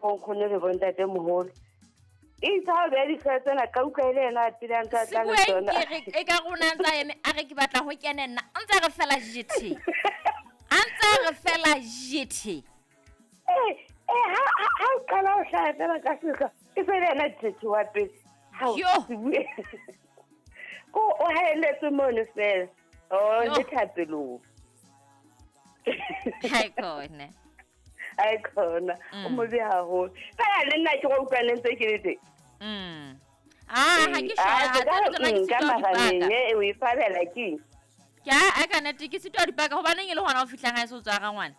Bonkgono le bontate moholo. Itse ha o beha dihlooho tsena ka utlwa e le yena a pele a ntse a tla le Sebueng tsona. ke re e ka rona ntse a eme a re ke batla ho kena nna a ntse a re fela jethe. A ntse a re fela jethe. Ee, ee, ha o qala ho hlaha fela ka sehla, e se le yena jethe wa pele. Hao, Yo. Sebueng. Ko o haelletse mono fela. Oh, Yo. le thapelong. Hai khona. Ai khona, o mobe haholo. Fela le nna ke go utlwa le ntse ke le teng. Ah, ha ke sure, Ah, ha se ka tsena tsona ke nka sitwa ho di marameng, paka. o e fabela keng? Ke a ka nnete ke sitwa ho di paka hobaneng e le hona o fihlang ha e se o tswara ngwana.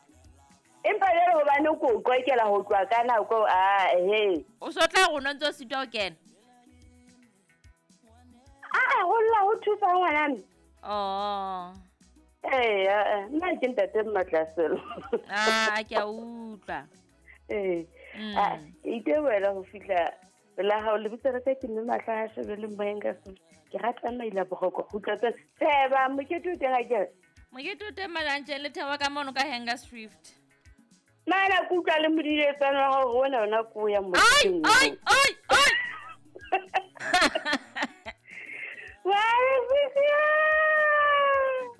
Empa jwale hobane ko o qwakela ho tloha ka nako, ah, he. O so tla rona o ntse o sitwa ho kena. Ah, ho lla ho thusa ngwana mme. Oh. Ee, ah, nna ke ntate Mmatlaselo. Ah, ke a utlwa. Ee. Ah, itebohela ho fihla la hao lebitso la ka ke mme Mahla ha shebe le moyeng ka sona. Ke rata maila boroko ho utlwa tsena. Tseba mokete o teng akere. Mokete o teng Majantjeng le Thabo ka mono ka Hanger Swift. Mana ke utlwa le modiletsana wa hao hore ona ona ko o ya Ai, moketeng ai, oo. ai, ai. Wa re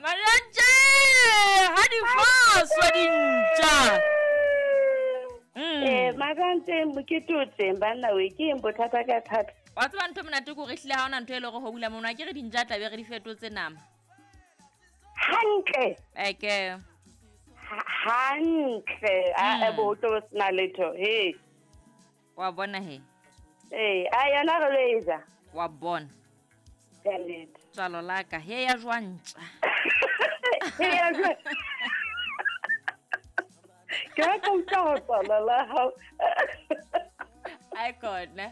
Majantjeng, ha di faswa dintja. Eh, Majantjeng mokete o teng banna we ke eng bothata ka thata. Wa tseba ntho e monate ke hore ehlile ha hona ntho e leng hore ho bula mono, akere dintja tla be re di fetotse nama. Hantle. Eke. Hantle. A bo tlo bo sena letho. He. Wa bona he. Eh, a yona re lo e ja. Wa bona. Ka nnete. Tswalo la ka, he ya jwa ntja. He ya jwa. Ke rata ho utlwa ho tswalo la hao. Ai khona.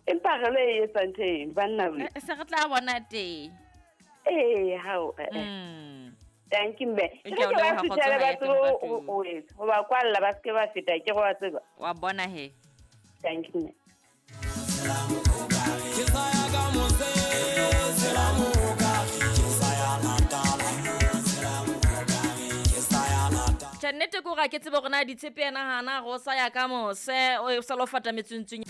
Empa re lo e etsa ntho eno, banna we. Se re tla bona teng. Ee, hao, eh, eh. Thank you, mme. E Ke ke a o re ke ba leboha, suthele kgotso ba ha ya tsebe teng ho etsa, ho ba kwalla ba seke ba feta, ke re wa tseba. Wa bona he. Thank you, mme. Ke sa ya ka mose, tsela moka, ke sa ya Natala, tsela moka, ke sa ya Natala. Tjhe, nnete ke hore ha ke tsebe hore na ditshepe yena hana re o sa ya ka mose, o sa lo fata metsuntsung.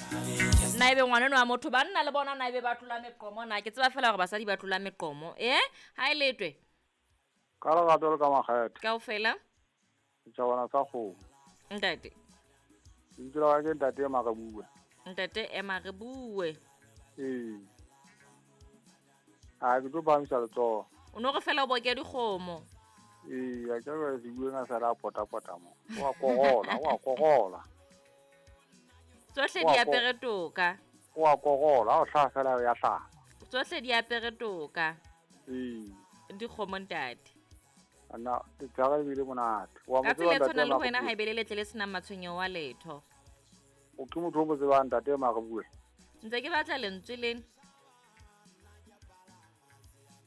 Na ebe ngwana enwa wa motho, banna le bona na ebe ba tlola meqomo na? Ke tseba feela hore basadi ba tlola meqomo. Ha e letwe? Ka lerato le ka makgethe. Kaofela? Setjhabana sa kgomo. Ntate. Lebitso la ka ke Ntate Ema re bue. Ntate Ema re bue. Ee. A ke tlo phahamisa letsoho. O no re fela o boke dikgomo. Ee, a ke re se bueng a sala a pota-pota mo. O a korola, o a korola. Tsohle O a di apere toka. O a korola, ha o hlaha fela ya hlaha. Tsohle di apere toka. Ee. Dikgomo ntate. Ana, letsatsi le bile monate. Wa mo Ka tseba tsela e ntate tshwanang le Ema ho wena re ha bue. e be le letle le senang matshwenyeho a letho. O ke motho o mo tsebang ntate Ema re bue. Ntse ke batla lentswe lena.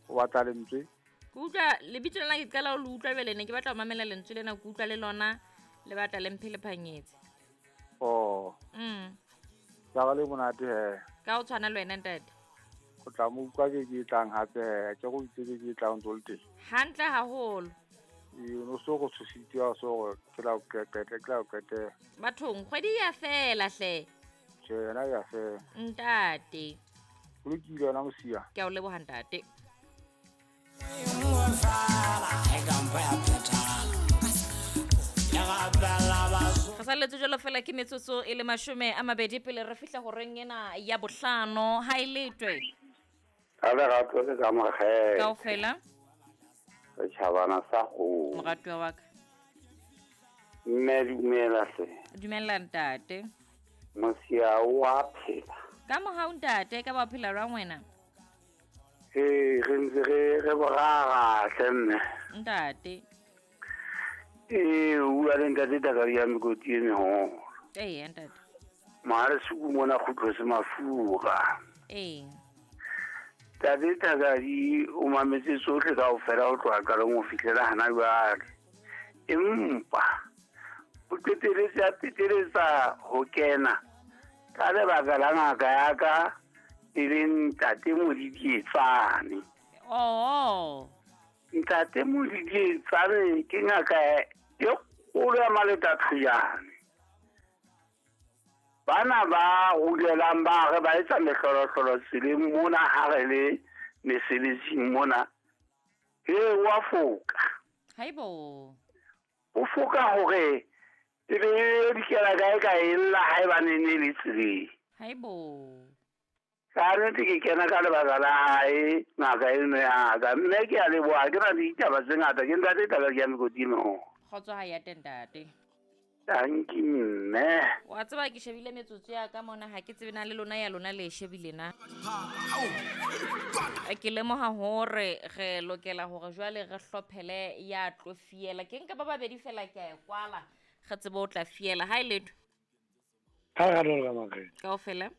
O batla lentswe? Ke utlwa lebitso lena ke qala ho le utlwa jwale ne ke batla ho mamela lentswe lena, ke utlwa le lona le batla le mphe le phanyetse. Oh. Tsa le monate he. Ka ho tshwana le wena ntate. O tla mo utlwa ke ke tlang hape he, ke go itse ke ke tlang ntse o le teng. Hantle haholo. Ee, o no so go tshositse wa so gore ke la o qetela, ke la o qetela. Bathong, kgwedi ya fela hle. Tjhe, yona ya fela. Ntate. Ho lokile yona mosia. Ke a o leboha ntate. Re salletse jwalo fela ke metsotso e le 20 pele re fihla horeng ena ya bohlano. Ha e letwe. Ka lerato le ka makgethe. Kaofela. Setjhabana sa kgomo. Moratuwa wa ka. Mme dumela hle. Dumela ntate. Mosia o a phela. Ka mohau ntate, ka ba phela jwang wena? Ee, re ntse re borara hle mme. Ntate. Ee, o bua le ntate Takadi ya mekoti e meholo. Ee, ntate. Mohale suku mona kgutlo se mafura. Ee. Ntate Takadi o mametse tsohle kaofela ho tloha qalong ho fihlela hana jwale. Empa o qeteletse a peteletsa ho kena ka lebaka la ngaka ya ka e leng Ntate Modidietsane. Oh. Ntate Modidietsane ke ngaka e kgolo ya Maletathojane. Bana ba rulelang ba re ba etsa mehlolohlolo tseleng mona ha re le mesebetsing mona. He wa foka. Haibo. O foka hore e be e dikela kae ka e lla haebane ne le tseleng. Haibo. Ka nnete ke kena ka lebaka la hae ngaka eno ya ka. Mme ke a leboha, ke na le ditaba tse ngata. Ke ntate taba ke ya mekoting ho. Kgotso ha ya teng ntate. Tanki mme. Wa tseba ke shebile metsotso ya ka mona, ha ke tsebe na le lona ya lona le e shebile na. Ke lemoha hore re lokela hore jwale re hlophele ya tlo fiela. Ke nka ba babedi fela ke a e kwala. Re tsebe o tla fiela. Ha e letho. Ha re ka makgetho. Kaofela.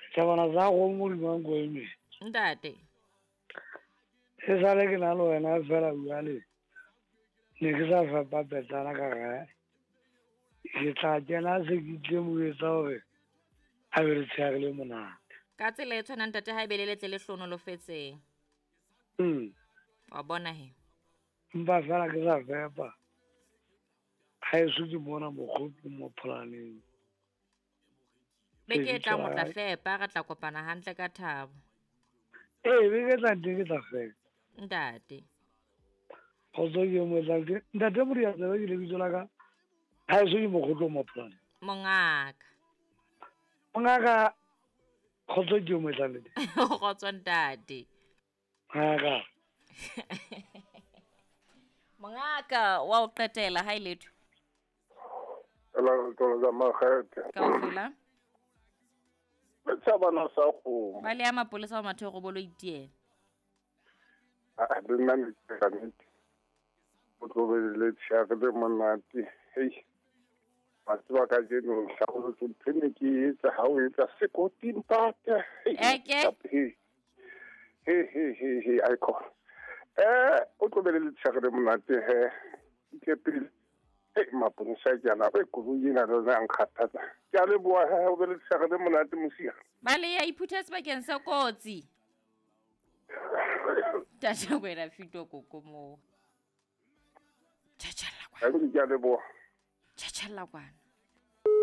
Setjhabana sa kgomo hodima nko e meng. Ntate. E sale ke na le wena fela jwale. Ne ke sa fepa petsana ka gae. Ke tla kena se ke tle mo etsa hore a be le tsheare le monate. Ka tsela e tshwanang ntate ha e be le letle le hlonolofetseng. Wa bona he. Empa fela ke sa fepa. Ha eso ke bona mokgopi mo pholaneng. Beke e tlang o tla fepa, re tla kopana hantle ka thabo. Ee, beke e tlang teng ke tla fepa. Ntate. Kgotso ke mo tlang teng. Ntate Modiantsebe ke lebitso la ka. Ha eso ke mokgotlo mo pholaneng. Mongaka. Mongaka, kgotso ke mo tlang teng. Kgotso ntate. Mongaka. Mongaka wa o qetela ha e letho. Ela re tlo tsa makgethe. Kaofela. Setjhabana sa kgomo. Ba le ya mapolesa wa Matheo go bolo itiela. A le nna ne ke ka nnete. O tlo be le tsheare le monate. Hei. Ba tseba kajeno hlabolotse ntho e ne ke e etsa ha o etsa sekoti ntate. Eke. He he he he icon. O tlo be le tsheare le monate he. Ke pele. Hei mapolesa ke ana e koloi ena le yona ya nkgathatsa. Ke a leboha he o be le tsheare le monate mosiha. Ba le ya iphutha sebakeng sa kotsi. Ntate wena fito koko moo. Tjhatjhalla kwana. Ke a leboha. Tjhatjhalla kwana.